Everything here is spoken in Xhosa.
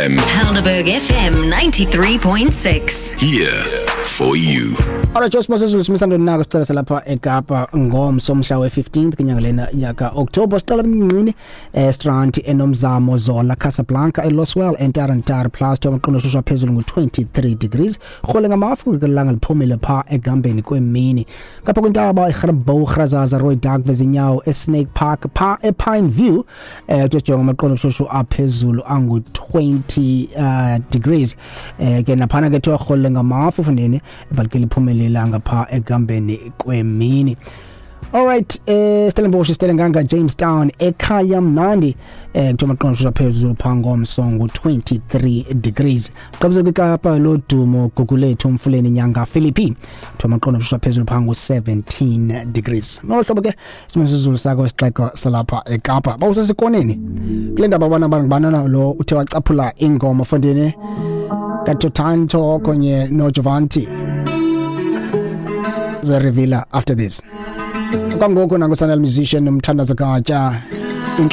time. Helderberg FM 93.6. Here for you. Alright, Josh Mosesulu simisando nako sicela salapha eKapa ngomso mhla we-15th kwinyanga lena yaka October. Sicela emnqini eStrand, eNomzamo, Zola, Casablanca, eLoswell, eNtarantara plus amaqondo shusha phezulu ngu-23 degrees. Rhole ngamafu ilanga liphumile pha ekuhambeni kwemini. Ngapha kwintaba iGrabouw, Grazaza, Rooidak, Vezinyawo, eSnake Park, pha ePine View kujonga amaqondo shushu aphezulu angu-20 degrees. Ke naphana ke thiwa rhole ngamafu fundeni but ke liphumile ilanga pha ekuhambeni kwemini. Alright, Stellenbosch, Stellenganga, Jamestown, ekhaya mnandi kuthiwa amaqondo shushu aphezulu pha ngomso ngu-23 degrees. Qabisa kwiKapa lodumo, Gugulethu, Mfuleni, Nyanga, Philippi, kuthiwa amaqondo shushu aphezulu pha ngu-17 degrees. Ngolo hlobo ke simesizulu sakho sixeko salapha eKapa. Bawusesikoneni kule ndaba abana banana lo uthe wacaphula ingoma fondini kaTotanto kunye noJovanti ze-revealer after this. Kwangoku nangusanel musician, umthandazo katya inhliziyo.